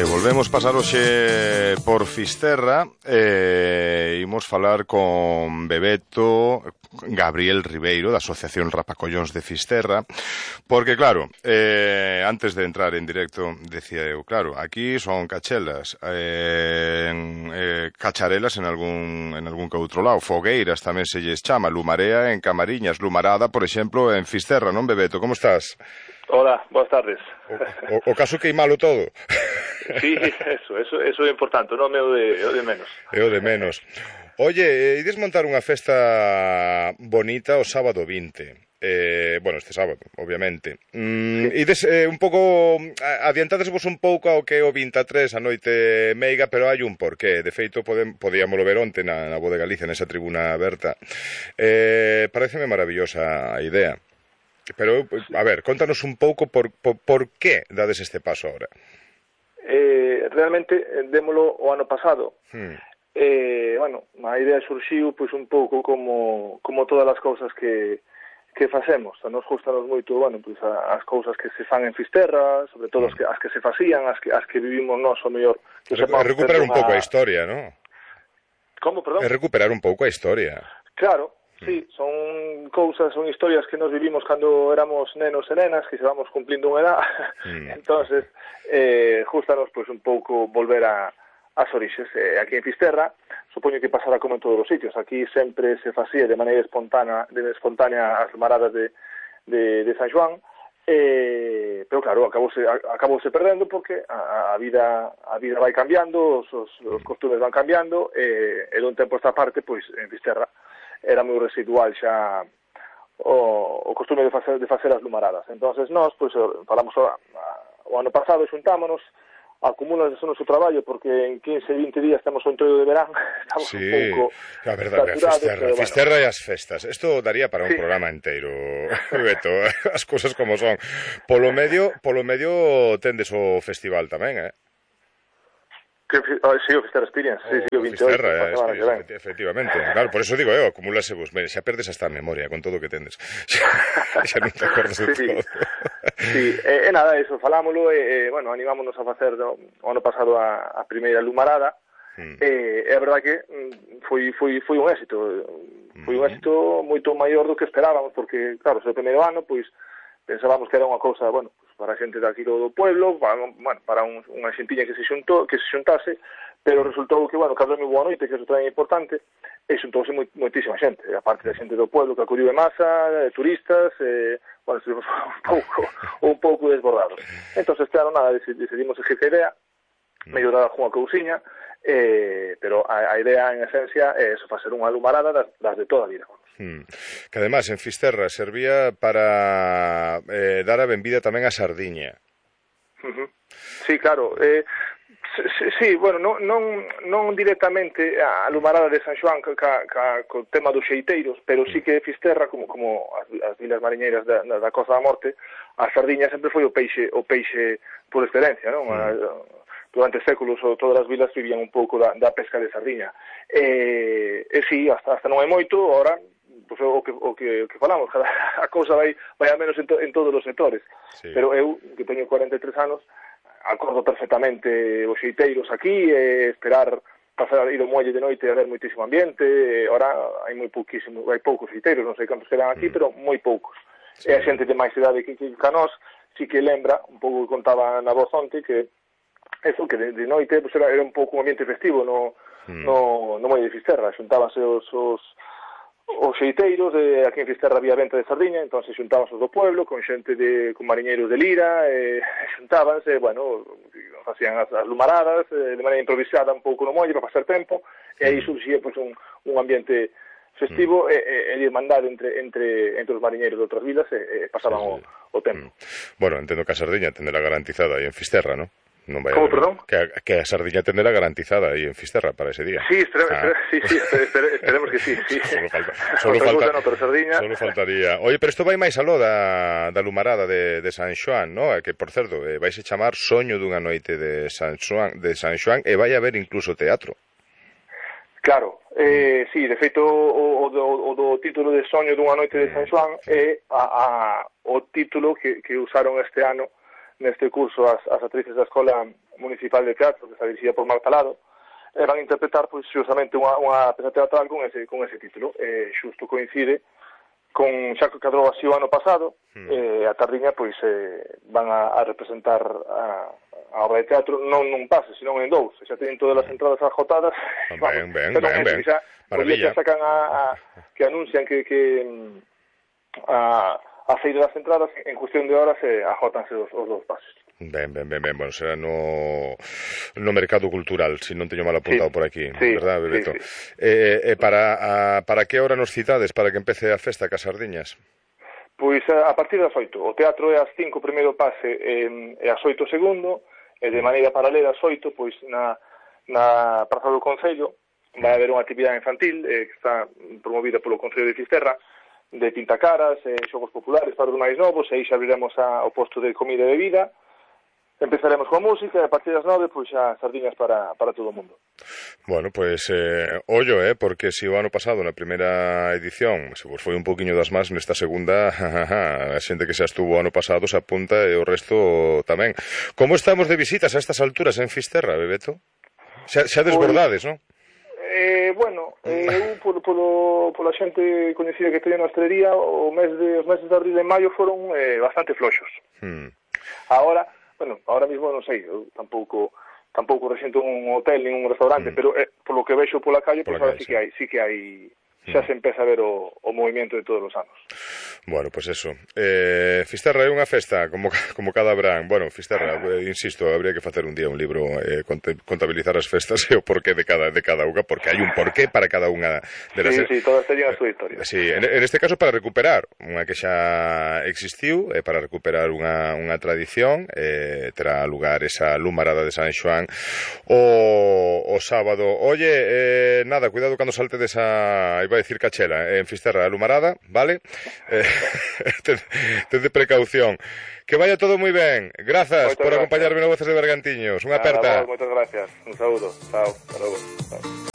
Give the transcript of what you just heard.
Volvemos pasar hoxe por Fisterra imos falar con Bebeto Gabriel Ribeiro da Asociación Rapacollóns de Fisterra porque claro, antes de entrar en directo decía eu, claro, aquí son cachelas cacharelas en algún que outro lado, fogueiras tamén se lles chama, Lumarea en Camariñas, Lumarada, por exemplo, en Fisterra, non Bebeto? Como estás? Hola, boas tardes. O caso que malo todo. Sí, eso é importante, non é o de menos. É o de menos. Oye, ides montar unha festa bonita o sábado 20. Bueno, este sábado, obviamente. Ides un pouco, adiantadesvos un pouco ao que é o 23 a noite meiga, pero hai un porqué. De feito, podíamoslo ver onte na Voz de Galicia, nesa tribuna aberta. Pareceme maravillosa a idea. Pero, a ver, contanos un pouco por que dades este paso ahora. Realmente, démolo o ano pasado. Bueno, a idea surxiu pois un pouco como todas as cousas que facemos. Nos gustanos moito, bueno, pois as cousas que se fan en Fisterra, sobre todo as que se facían, as que vivimos nós, o mellor. Recuperar un pouco a historia, non? Como, perdón? Recuperar un pouco a historia. Claro. Sí, son historias que nos vivimos cando éramos nenos e nenas, que se vamos cumplindo unha edad. Entonces, gustanos pois un pouco volver ás orixes. Aquí en Fisterra, supoño que pasará como en todos os sitios. Aquí sempre se facía de maneira espontánea as maradas de San Xoán, pero claro, acabouse perdendo porque a vida vai cambiando, os costumes van cambiando, e dun tempo esta parte, pois, en Fisterra, era moi residual xa o costume de facer as lumaradas. Entonces nós, pois, falamos o ano pasado, xuntámonos, acumúlanse o noso traballo, porque en 15-20 días temos o entroido de verán, estamos un pouco a verdade, saturados. Fisterra e as festas, isto daría para un programa inteiro, Beto, as cousas como son. Polo medio tendes o festival tamén, Sí, o Fisterra Experience, sí, o 28. Fisterra, efectivamente. Claro, por eso digo acumúlase vos. Xa perdes hasta a memoria con todo o que tendes. Xa non te acordas de todo. Sí, nada, eso, falámoslo, bueno, animámonos a facer o ano pasado a primeira lumarada, é verdad que foi un éxito. Foi un éxito moito maior do que esperábamos, porque, claro, o primeiro ano, pois, pensábamos que era unha cousa, bueno, para a xente daqui do pueblo, para unha xentiña que se xuntase, pero resultou que, bueno, cando é moi boa noite, que eso tamén é importante, e xuntouse moitísima xente, a parte da xente do pueblo que acudiu de masa, turistas, bueno, estivemos un pouco desbordados. Entón, este ano, nada, decidimos seguir a idea, mellorar algunha cousiña, pero a idea, en esencia, é eso, facer unha lumarada das de toda a vida. Que además en Fisterra servía para dar a benvida tamén a sardiña. Sí, claro. Sí, bueno, non directamente a lumarada de San Xoán co tema dos xeiteiros, pero sí que Fisterra, como as vilas mariñeiras da Costa da Morte, a sardiña sempre foi o peixe por excelencia, non? Durante séculos todas as vilas vivían un pouco da pesca de sardiña. E sí, hasta non hai moito, ahora pues, o que falamos, a cousa vai a menos en todos os sectores. Sí. Pero eu, que teño 43 anos, acordo perfectamente os xeiteiros aquí, esperar pasar ir ao muelle de noite e haber moitísimo ambiente. Ahora hai poucos xeiteiros, non sei cantos quedan aquí, pero moi poucos. Sí. E a xente de máis idade que nós, si que lembra, un pouco que contaba na voz onte, que eso, que de noite pues, era un pouco un ambiente festivo no muelle de Fisterra. Xuntábanse os xeiteiros, aquí en Fisterra había venta de sardiña, entón se xuntábanse os do pueblo con xente con mariñeiros de Lira, xuntábanse, bueno, facían as lumaradas de maneira improvisada un pouco no muelle para pasar tempo, e aí surxía pues, un ambiente festivo e de irmandade entre os mariñeiros de outras vilas e pasaban o tempo. Bueno, entendo que a sardiña tendrá garantizada aí en Fisterra, non? ¿Cómo, perdón? Que a sardiña tendrá garantizada aí en Fisterra para ese día. Sí, esperemos que sí. Solo faltaría. Oye, pero isto vai máis aló da lumarada de San Xoán, ¿no? Que, por certo, vais a chamar Soño dunha noite de San Xoán e vai haber incluso teatro. Claro, sí, de feito o do título de Soño dunha noite de San Xoán é o título que usaron este ano neste curso as actrices da Escola Municipal de Teatro, que está dirigida por Marta Lado, van a interpretar pois xustamente unha peza teatral con ese título. Xusto coincide con xa que cadrou así o ano pasado, a tardiña pois van a representar a obra de teatro non nun pase, senón en dous. Xa teñen todas as entradas agotadas. Ben. Maravilla. Xa sacan que anuncian que a feira das entradas en cuestión de horas agotanse os dous pases. Ben, bueno, será no mercado cultural, se non teño mal apuntado por aquí, verdad, Bebeto? Sí. Para que hora nos citades para que empece a festa cas sardiñas? Pois a partir das 8. O teatro é ás 5 o primeiro pase e ás 8 o segundo, e de maneira paralela ás 8, pois na Praza do Concello vai haber unha actividade infantil que está promovida polo Concello de Fisterra, de pintacaras, xogos populares para os máis novos, e aí xa abriremos o posto de comida e bebida. Empezaremos coa música e a partir das 9 pois xa sardiñas para todo o mundo. Bueno, pois ollo, porque se o ano pasado na primeira edición se vos foi un poquinho das más, nesta segunda a xente que xa estuvo o ano pasado se apunta e o resto tamén. Como estamos de visitas a estas alturas en Fisterra, Bebeto? Xa desbordades, non? Bueno, eu pola xente coñecida que teño na hostelería, os meses de abril e maio foron bastante floxos. Ahora mismo non sei, eu tampouco rexento un hotel nin un restaurante, pero polo que vexo pola calle, pois ahora sí que hai xa se empeza a ver o movimento de todos os anos. Bueno, pois eso. Fisterra é unha festa como cada verán. Bueno, Fisterra, insisto, habría que facer un día un libro contabilizar as festas e o porqué de cada unha, porque hai un porqué para cada unha de las... Sí, todas teñen a súa historia. Sí, en este caso para recuperar unha que xa existiu, para recuperar unha tradición, terá lugar esa lumarada de San Xoán o sábado. Oye, nada, cuidado cando saltedes iba a decir Cachela, en Fisterra, a lumarada, vale? Ten de precaución. Que vaya todo moi ben. Grazas por acompañarme no Voces de Bergantiños. Unha aperta. Moitas gracias. Un saúdo. Chao. Hasta logo. Chao.